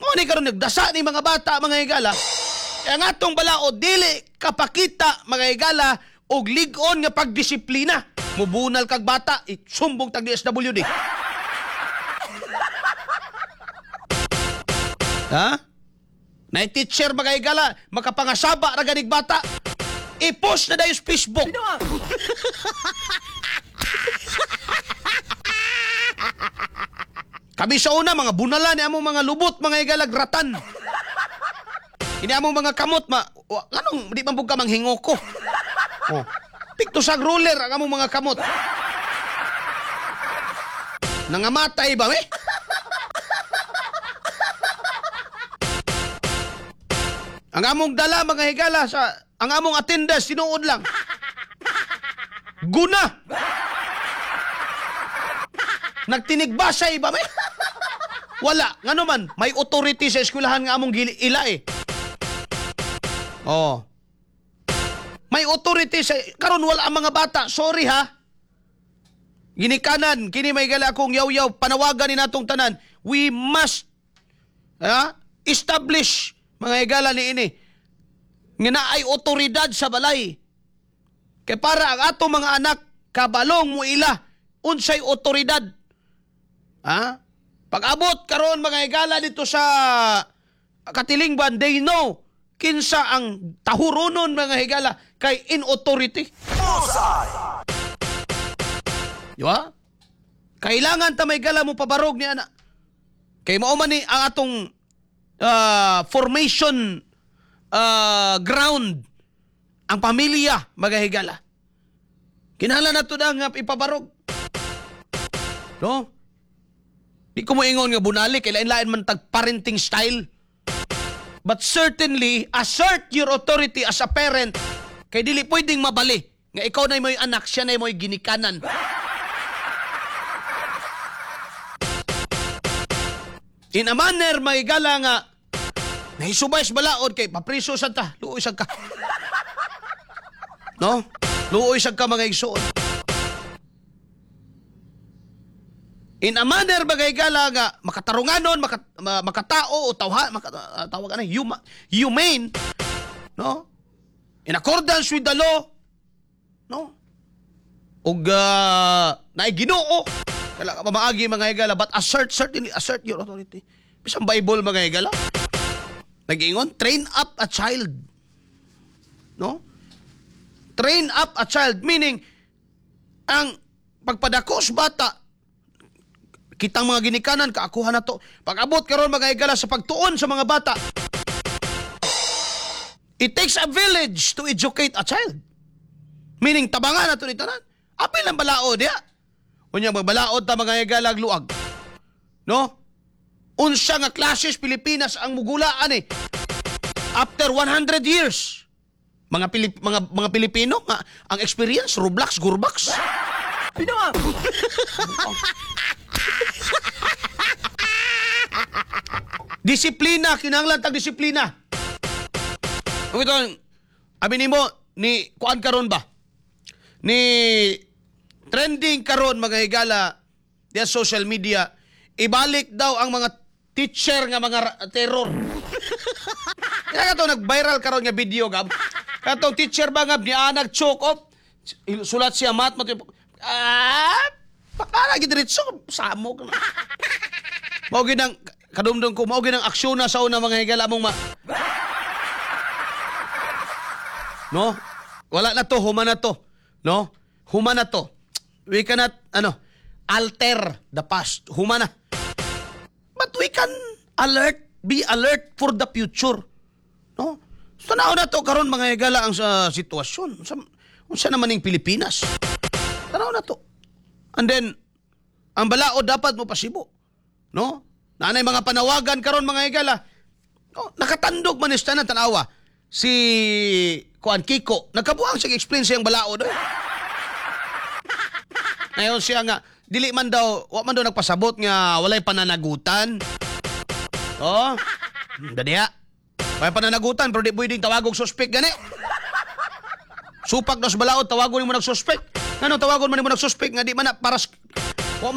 Mao ni karon nagdasa ni mga bata, mga higala. Kaya nga atong balaod dili kapakita, mga higala, og lig-on nga pagdisiplina. Mubunal kag bata, isumbong tag DSWD. Ha? Na teacher, mga higala, makapangasaba ra ganig bata. I-post na dayon sa Facebook. Kami sa una, mga bunala ni among mga lubot, mga higalag ratan. Ini among mga kamot, ma, wa, anong, di man pud ka manghingoko. Oh. Pikto sa ruler ang among mga kamot. Nangamatay ba, eh? Ang among dala, mga higala, sa, ang among attendance, tinuod lang. Guna! Nagtinigbasay ba, may? Wala. Ngano man, may authority sa eskwelahan nga among gili ila eh. Oh. May authority sa karon wala ang mga bata. Sorry ha. Ginikanan kini may gala akong yaw-yaw panawagan ni natong tanan. We must ha, establish, mga higala, ni ini nga naay otoridad sa balay. Kay para ang ato mga anak kabalong mo ila unsay otoridad. Ha? Pag-abot karon, mga higala, dito sa katilingban, they know kinsa ang tahuronon, mga higala, kay in authority. Di ba? Kailangan ta may gala mo pabarog ni ana. Kay mao man ni ang atong formation ground ang pamilya, mga higala. Kinahanglan nato na nga ipabarog. No? Di ko moingon nga bunali kay lain-lain man tag parenting style. But certainly assert your authority as a parent kay dili pwedeng mabali nga ikaw na mo'y anak, siya na mo'y ginikanan. In a manner, mahigala, nga nahisubay sa balaod kay papriso sad ta, luoy sad ka. No? Luoy sad ka, mga igsoon. In a manner, mga higala, nga makatarunganon, makatao o tawha, tawag ana, humane, no? In accordance with the law, no? Ug naay Ginoo. Kala ka pamaagi, mga higala, but assert, certainly assert your authority. Bisan Bible, mga higala, nag-ingon, train up a child. No? Train up a child, meaning, ang pagpadako sa bata, kitang mga ginikanan, kaakuha na to. Pag-abot karon, mga higala, sa pagtuon sa mga bata, it takes a village to educate a child. Meaning, tabangan na to ni tanan. Apil ang balaod, ya. Unya, magbalaod ta, mga higala, luag. No? Unsa nga clashes Pilipinas ang mugulaan eh. After 100 years. Mga Pilipino nga ang experience Roblox, Gurbax. Pinoa! Disiplina, kinahanglan tag disiplina. Kung ito, abi nimo ni kuan karon ba? Ni trending karon, mga higala, diya social media, ibalik daw ang mga teacher nga mga terror. Kaya kato nag-viral karon nga video gab. Katong teacher ba nga nianag choke off, sulat siya mat mat baka lagi diretso samok. Mao ginang kadumdum ko, mao ginang aksyon na sa una, mga higala, mong ma. No? Wala na to, human na to. No? Human na to. We cannot, ano, alter the past. Human na. But we can alert, be alert for the future. No? So, tanaw na to karon, mga higala, ang sa sitwasyon. Sa, unsa naman ning Pilipinas? Tanaw na to. And then, ang balaod dapat mo pasibo. No? Naanay mga panawagan karon, mga higala. No, nakatandog man is tanan tanawa. Si Kuan Kiko, nagkabuang siya explain siyang balaod. Eh. Ngayon siya nga dili man daw, wa man daw nagpasabot nga walay pananagutan. Oh. Dadiya. Walay pananagutan pero di pwedeng tawagog suspect gani. Supak daw sa balaod, tawagon mo nagsuspect. Ngano tawagon man nimo nagsuspect nga di man na para wa man